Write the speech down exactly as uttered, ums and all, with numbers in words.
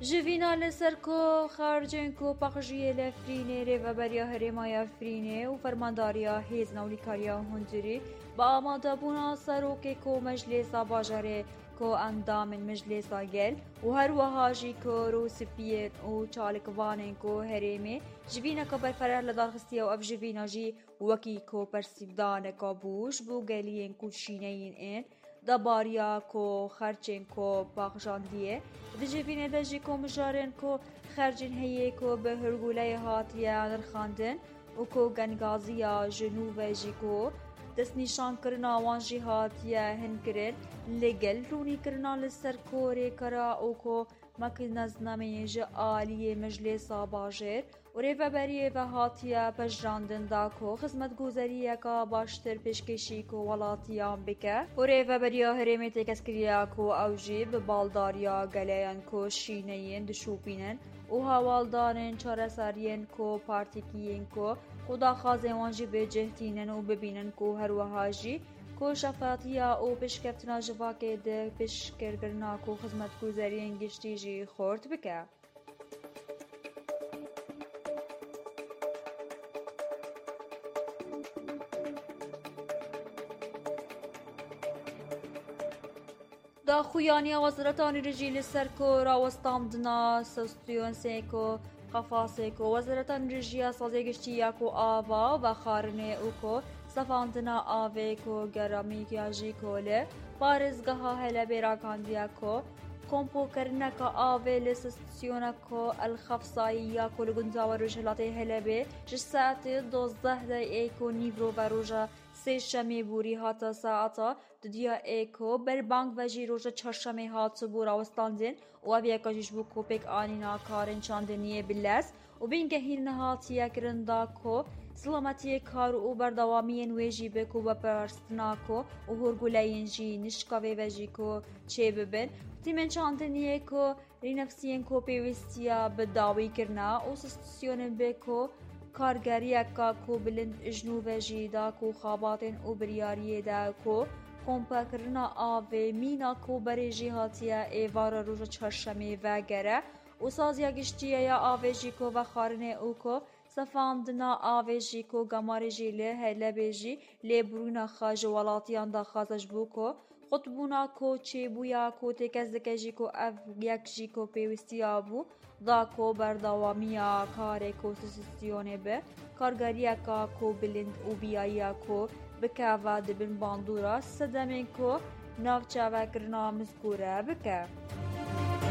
Jivîna li ser ku xercên ku paqijiyê li Efrînê, Rêveberiya Herêma ya Efrînê û Fermandariya Hêzên Ewlîkariya Hundirî bi amadebûna serokê ku Meclêsa Bajarê ku endamên Meclêsa Gel û her wiha jî ku rûspiyên û çalikvanên ku herêmê jivîneke berfireh li dar xistiye û ev jivîna jî wekî ku persîvdaneke bû ji bo geliyên ku şîneyên ên debariya ku xerçên ku paxijandiyê. Di civînê de jî ku mijarên ku xercên heyê ku bi hurguleyê hatiye nirxandin û ku gengaziya ji nû ve jî ku destnîşankirina wan jî hatiye hinkirin, li gel rûnîkirina li ser ku rêkara û ku makînaznameyên ji aliyê Meclêsa Bajêr û Rêveberiyê ve hatiye pejirandin da ku xizmetguzariyeke baştir pêşkêşî ku welatiyan bike û Rêveberiya Herêmê têkez kiriye ku ew jî bi baldariya geleyan ku şîneyên dişopînin û hewaldanên çareseriyên ku partîkiyên ku xwe daxwazên wan jî bi cih tînin û bibînin ku her wiha jî ku şefatiya û pêşkeftina civakê di pêşkirkirina ku xizmetguzariyên giştî jî xurt bike. Daxuyaniya Wezareta Nûrî jî li ser ku rawestandina stasyonsê ku qefasê ku Wezareta Nûrî jî ya Sazê Giştî ya ku ava û vexwarinê û ku sefandina avê ku geramî ya jî ku li parêzgeha Helebê ragihandiye ku kompokirineke avê li stasyona ku El Xefsayî ya ku li gunda we rojhilatê Helebê ji saetê dozdeh de ê ku nîvro ve roja sêşemê borî hate saeta dudiya ê ku berbang ve jî roja çarşemê hatibû rawestandin û ev yeka jî ji bo ku pêk anîna karên çandiniyê bi lez û bingehîn nehatiye kirin da ku silametiyê kar û berdewamiyên wê jî bi ku veparastina ku û hûrguleyên jî nişka vê ve jî ku çêbibin. Tîmên çandiniyê ku rînefsiyên ku pêwîstiya bi dawî kirina û stasyonên bi ku kargeriyeka ku bilind ji nû ve jî da ku xebatên û biryariyê de ku kompakirina avê mîna ku berê jî hatiye êvara roja çarşemê vegere û saziya giştî ya avê jî ku vexwarinê û ku sefandina avê jî ku gemarê jî li Helebê jî lêbûrîna xwe ji welatiyan daxwaze ji bo ku qutbûna ku çêbûya ku têkez dike jî ku ev yek jî ku pêwîstiya bû da ku berdewamiya karê ku stasyonê bi kargeriyeka ku bilind û biyayiya ku bikeve di bin bandora sedemên ku navçe vekirina mizgûre bike.